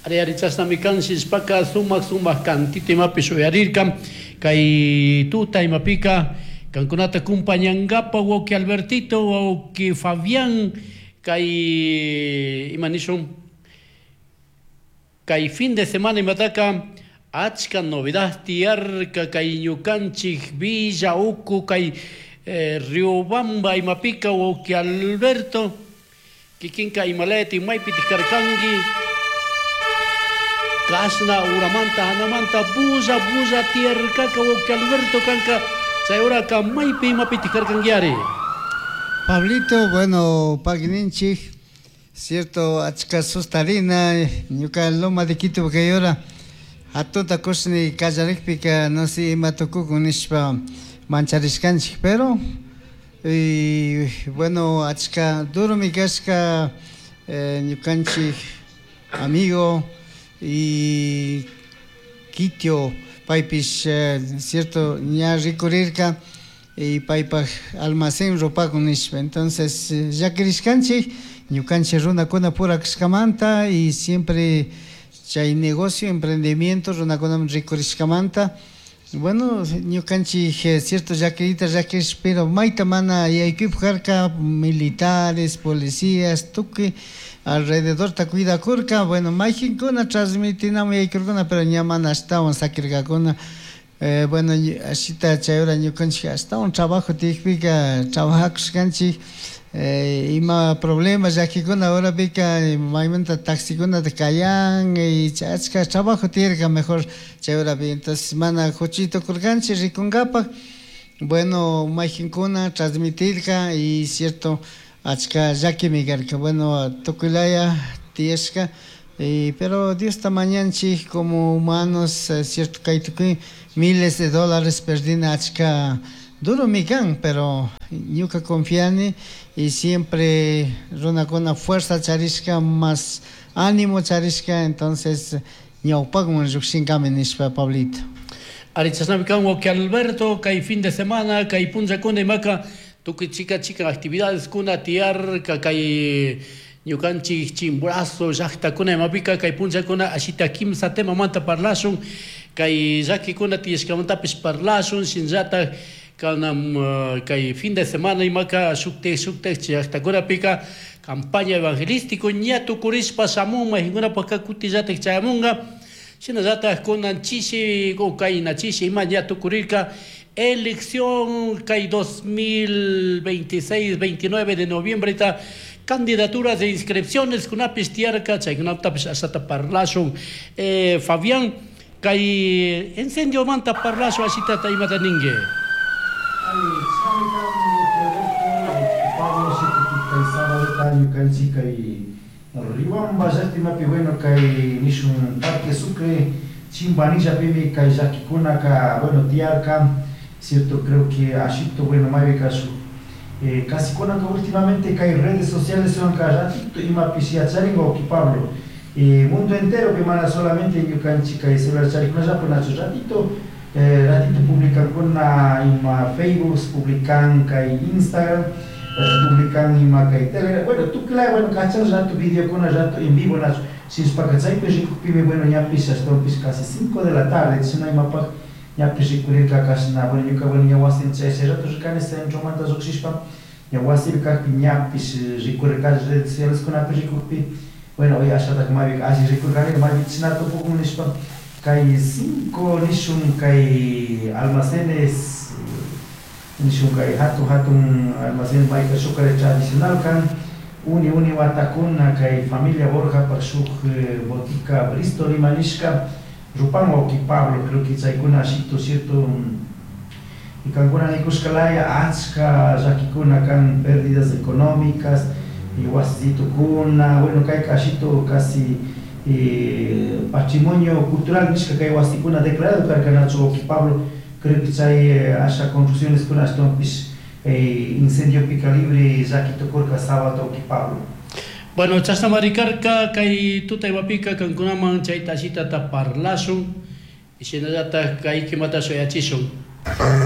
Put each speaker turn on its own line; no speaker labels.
Ari ari chashnami kan shishpaka sumak sumak kantita imapish uyarirka kay tuta imapika kankunata kumpañankapa wawki Albertito, wawki Fabián kay ima nishun kay fin de semana imataka achka novedad tiyarka kay ñukanchik Villa Uku kay Riobamba imapika wawki Alberto kikinka imalayati maypitik karkanki kashna uramanta hanamanta bulla bulla tiyarkaka wawki Alberto kanka chay uraka maypi imapitik karkanki
Pablito, bueno, pagninchik, cierto, achka sustarina, ñuka Loma de Quito kay hora, hatunta kushni kallarikpika, no sé, ima tukukun nishpa mancharishkanchik, pero, y, bueno, achka duromi kashka ñukanchik amigo y Quito, paypish, cierto, ña rikurirka, y paypaj almacén rupakun nishpa, entonces llakirishkanchik ñukanchik runakuna pura kashkamanta y siempre chay negocio, emprendimiento runakunaman rikurishkamanta, bueno, ñukanchik cierto llakirita llakirish, pero mayta mana yaykuypuk karka, militares, policías, tukuy alrededorta cuidakurka, bueno, mayjinkuna transmitinamun yaykurkuna, pero ña mana ashtawan sakirkakuna. Bueno, ashita chay hora ñukanchik ashtawan trabajo tiyakpika trabajakushkanchik, ima problema llakikuna horapika maymanta taxikunata kayan y achka trabajo tiyarka mejor chay horapi, entonces mana huchita tukurkanchik rikunkapak, bueno, mayjinkuna transmitirka y cierto achka llakimi karka, bueno, tukuylaya tiyashka. Pero Dios mañanchik como humanos, cierto kay tukuy miles de dólares perdina achka duro mi kan, pero ñuka confiani y siempre runakuna fuerza charishka más ánimo charishka, entonces ñawpakman llukshinkami nishpa Pablito.
Ari chashnami kan wawki Alberto kay fin de semana kay punllakuna imaka tukuy chika chika actividades kuna tiyarka kay ñukanchik Chimborazo llaktakuna imapika kay punllakuna ashita kimsa temamanta parlashun kay llakikuna tiyashkamantapish parlashun shinallatak kanam kay fin de semana imaka shuktik shuktik llaktakunapika campaña evangelístico ña tukurishpa shamun mayjinkunapaka kutillatik chayamunka shinallatak kunan chishi o kayna chishi ima ña tukurirka elección kay 2026 29 de noviembre ta candidaturas de inscripciones kunapish tiyarka chaykunatapish ashata parlashun. Fabián kay incendiomanta parlashun ashitata imata ninki.
Pablo kay sábado ñukanchik kay Riobamba llaktimapi bueno kay nishun Parque Sucre Chimbanillapimi kay llakikunaka bueno tiyarka, cierto, creo que ashito bueno maypika shuk casi kunanka últimamente kay redes sociales son ratito imapish yacharin wawki Pablo, mundo entero pi mana solamente ñukanchik kay celular charikunallapi nachu ratito ratito publicankuna ima Facebook publican kay Instagram publican ima kay Telegram, bueno tukuylaya bueno kachan rato videokuna rato en vivo nachu shishpaka chaypi rikukpimi bueno ñapish ashtawanpish casi 5 de la tarde chashna imapak ñapish rikurirka kashna bueno ñuka bueno ña wasin chay chay rato rikani centromanta llukshishpa ña wasipi kakpi ñapish rikurirka redes sociales kunapi rikukpi bueno hoy ashatak maypika alli rikurkani maypi chashna tupukun nishpa kay 5 nishun kay almacenes nishun kay hatun hatun almacén mayka shuk tradicional kan uni uni watakuna kay familia Borjapak shuk botica Bristol ima nishka rupan wawki Pablo creo que chaykuna ashito cierto y kankuna nikushkalaya achka llakikuna kan pérdidas económicas y wasitukuna bueno kayka ashito casi patrimonio cultural nishka kay wasikuna declarado karka nachu wawki Pablo creo que chay asha construcciones kuna ashtawanpish incendio pica libre llaki tukurka sábado wawki Pablo.
Bueno, chashna marikarka kay tuta imapika kankunaman chayta ashitata parlashun y shinallatak kay kimata shuyachishun.